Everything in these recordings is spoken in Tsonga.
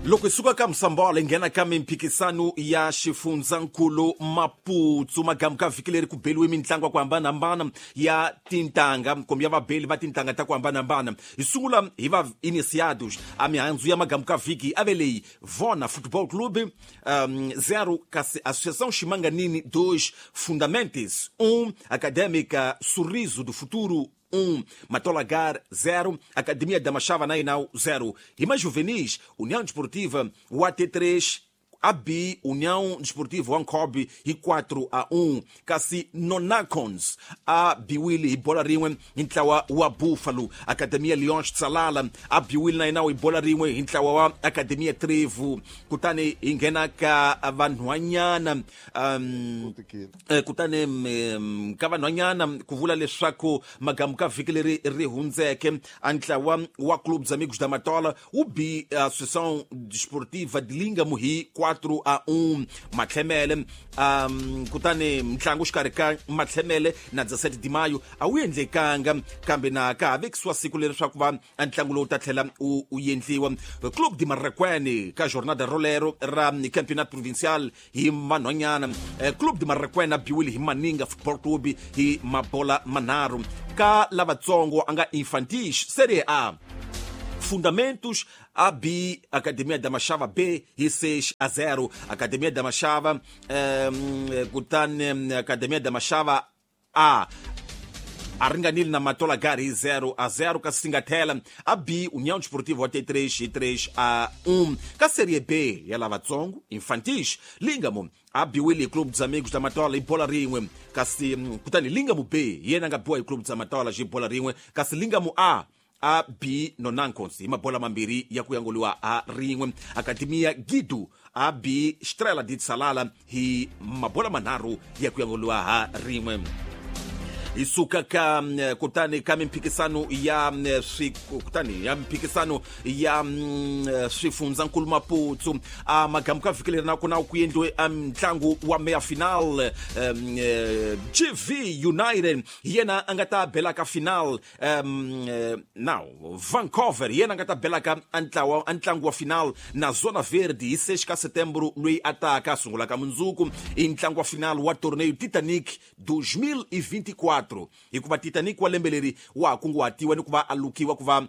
Loko hi suka ka Musambala hi nghena ka mimphikisano ya xifundzankulu Maputsu. Magamu ka vhiki leri ku beliwe mintlangu ya ku hambanahambana ya tintanga kumbe ya vabeli va tintanga ta ku hambanahambana. Hi sungula hi va iniciados. A mihandzu ya magamu ka vhiki a ve leyi: Vona Football Club 0, kasi Associação Ximanganini 2, Fundamentes 1, Acadêmica Sorriso do Futuro 1, Matolagar 0, Academia da Machava Nainau 0. Hi majuvenis, União Desportiva wa T3 AB União Desportiva wa Nkobe hi 4-1, kasi Nonacons a biwile hi bola rin'we hi ntlawa wa Buffalo. Academia Leões Tsalala a biwile na yena hi bola rin'we hi ntlawa wa Academia Trevo. Kutani hi nghena ka vanhwanyana kutani ka vanhwanyana ku vula leswaku magamu ka vhiki leri ri hundzeke a ntlawa wa Clube dos Amigos da Matola wu bi Associação Desportiva de Lingamo hi 4-1. Matlhemele kutani ntlangu xikarhi ka Matlhemele na 17 de Maio a wu endlekanga, kambe na ka ha vekisiwa siku leri swa ku va ntlangu lowu ta tlhela wu endliwa. Clube de Marraquene ka jornada rolero ra Campeonato Provincial hi vanhwanyana, Clube de Marraquene a biwile hi Maninga Football Club hi mabola manharhu. Ka lavatsongo a nga infantis Serie A, Fundamentos a B Academia da Machava B hi 6-0. Academia da Machava kutani Academia da Machava A a ringanile na Matola Gari hi 0-0, kasi Singathela a B União Desportiva wa T3 hi 3-1. Ka Serie B ya lavatsongo infantis, Lingamo a biwile hi Clube dos Amigos da Matola hi bola rin'we, kasi kutani Lingamo B hi yena a nga biwa hi Clube dos Matola hi bola rin'we, kasi Lingamo A a B Nonancons hi mabola mambirhi ya ku yangoliwa a rin'we. Academia Guido a B Estrela de Tsalala hi mabola manharhu ya ku yangoliwa ha rin'we. Hi suka ka kutani ka mimphikisano ya swi kutani ya mimphikisano ya swifundzankulu Maputsu. A magamu ka vhiki leri na ku na ku endliwe ntlangu wa meya final, GV United hi yena a nga ta bela ka final, now Vancouver hi yena a nga ta bela ka ntlawa ntlangu wa final na Zona Verde hi 6 ka Setembro loyi a taka a sungula ka mundzuku. I ntlangu wa final wa torneo Titanic 2024, hikuva Titanic wa lembe leri wa ha kunguhatiwa ni ku va a lukiwa ku va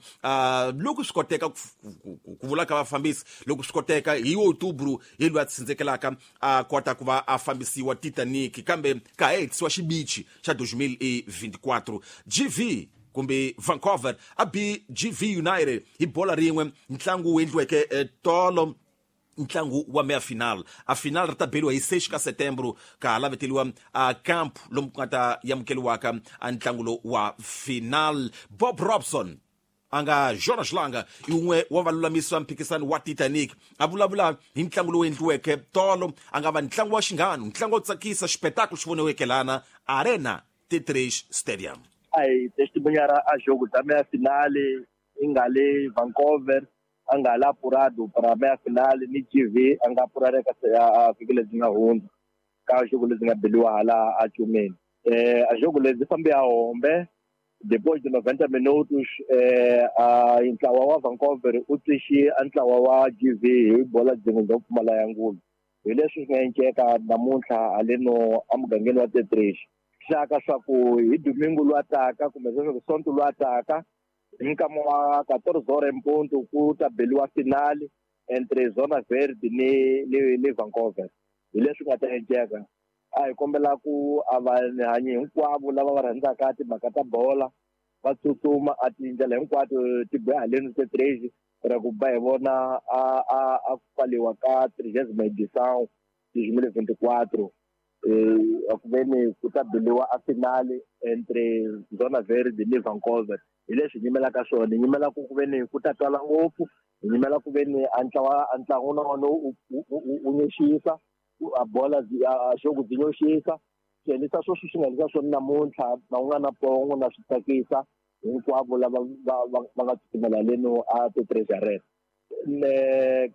loko swi koteka, ku vula ka vafambisi, loko swi koteka hi Outubro hi loyi a tsindzekelaka a kota ku va a fambisiwa Titanic, kambe ka ha hetisiwa xibichi xa 2024. GV kumbe Vancouver a bi GV United hi bola rin'we, ntlangu wu endliweke tolo, ntlangu wa meya final. A final ri ta beliwa hi 6 ka Setembro, ka ha laveteliwa a camp lomu ku nga ta yamukeliwaka a ntlangu lowu wa final. Bob Robson a nga Jonas Langa i wun'we wa valulamisi va mphikisano wa Titanic a vulavula hi ntlangu lowu endliweke tolo, a nga va ntlangu wa xinghano, ntlangu wo tsakisa, xipetakulu xi voniweke lana Arena T3 Stadium. A hi testemunhar a jogo da meia final i nga le Vancouver a nga la apurado para meia final ni GV a nga apurareka a vhiki lebyi nga hundza ka jogo lebyi nga beliwa hala a Cumeni. A jogo lebyi fambe a hombe depois de 90 minutos, a ntlawa wa Vancouver u tixi a ntlawa wa GV hi bola byin'we bya ku pfumala ya ngulu. Hi leswi swi nga enceka namuntlha haleno emugangeni wa T3 xaka swa ku hi domingo lwa taka kumbe leswaku sonto lwa taka hi nkama wa 14 horas em ponto ku ta beliwa finale entre Zona Verde ni Vancouver. Hi leswi nga ta enceka. A hi kombela ku a vanhanyi hinkwavo lava va rhandzaka timhaka ta bola va tsutsuma a tindlela hinkwato ti boha haleni T3 ra ku ba hi vona a ku pfaliwa ka 30ª edição 2024, a ku veni ku ta beliwa a finale entre Zona Verde ni Vancouver. Hi leswi hi nyimelaka swona, hi nyimela ku veni ku ta twala ngopfu, hi nyimela ku veni a ntlawa a ntlangu na wona u nyoxisa a bola a xogo byi nyoxisa swi endlisa sweswi swi nga endlisa swona namuntlha na u nga na pongo na swi tsakisa hinkwavo lava va nga tsutsumela leno a T3 Arena.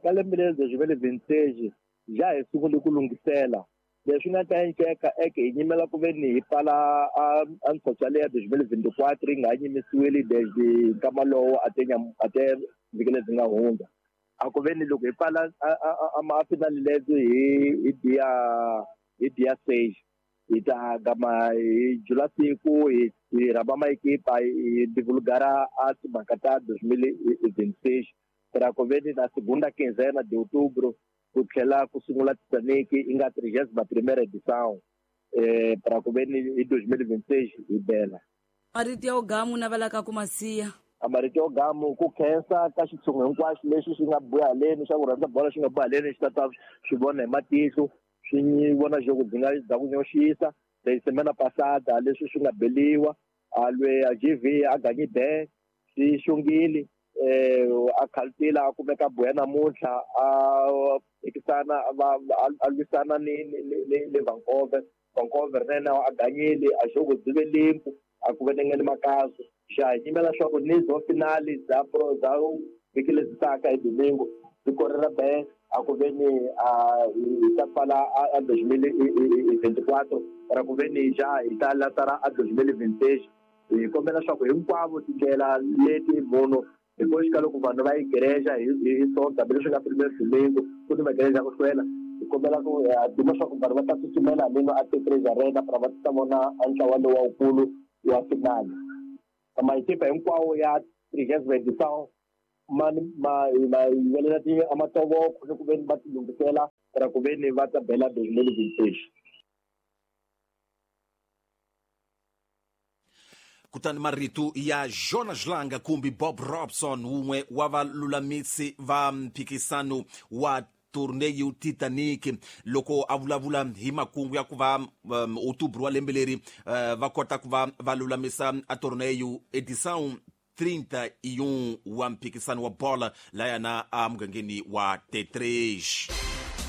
Ka lembe leri 2026 ja hi sungule ku lunghisela leswi nga ta enceka eke hi nyimela ku veni hi pfala a ntshotsha leya 2024 yi nga ha nyimisiwile desde nkama lowo a te a te vhiki lebyi nga hundza. A ku ve ni loko hi pfala a finale lebyi hi dia 6 hi ta gama hi jula siku hi rhamba maekipa hi divulgara a timhaka ta 2026 para ku ve ni na segunda quinzena de outubro ku tlhela ku sungula Titanic i nga 31ª edição para ku ve ni hi 2026 hi bela. Marito ya ugamu navelaka ku masiya. Marito ya ugamu ku khensa ka xitshungu hinkwaxo lexi xi nga buya haleni xa ku rhandza bolo xi nga buya haleni xi ta ta swi vona hi matihlo swi vona jogo byi nga bya ku nyoxisa de semana passada leswi swi nga beliwa a lwe a GV a ganyi be swi xungile a khaltila a kumeka buya namuntlha a phikisana a lwisana ni Vancouver Vancouver nena a ganyile a jogo byi ve limpu a ku venengeni makazo xa hi nyimela leswaku ni zo finale bya pro bya vhiki lebyi taka hi domingo byi korela be a ku ve ni hi ta pfala a 2024 ra ku ve ni ja hi ta lasara a 2026 hi kombela leswaku hinkwavo tindlela leti munhu hi koxika loko vanhu va yi gereja hi sonta hambi leswi nga primeiro domingo ku ni magereja ku hlwela hi kombela ku duma leswaku vanhu va ta tsutsumela haleni a T3 Arena para va ta vona a ntlawa lowu wukulu wa finale. Maekipa hinkwawo ya 30ª edição ma yivelela amatovoko ni ku ve ni va tilunghisela ra ku ve ni va ta bela 2026. Kutani marito ya Jonas Langa kumbe Bob Robson wun'we wa valulamisi va mphikisano wa torneio Titanic loko a vulavula hi makungu ya ku va outubro wa lembe leri va kota ku va va lulamisa a torneio edição 31 wa mphikisano wa bola layana a mugangeni wa T3.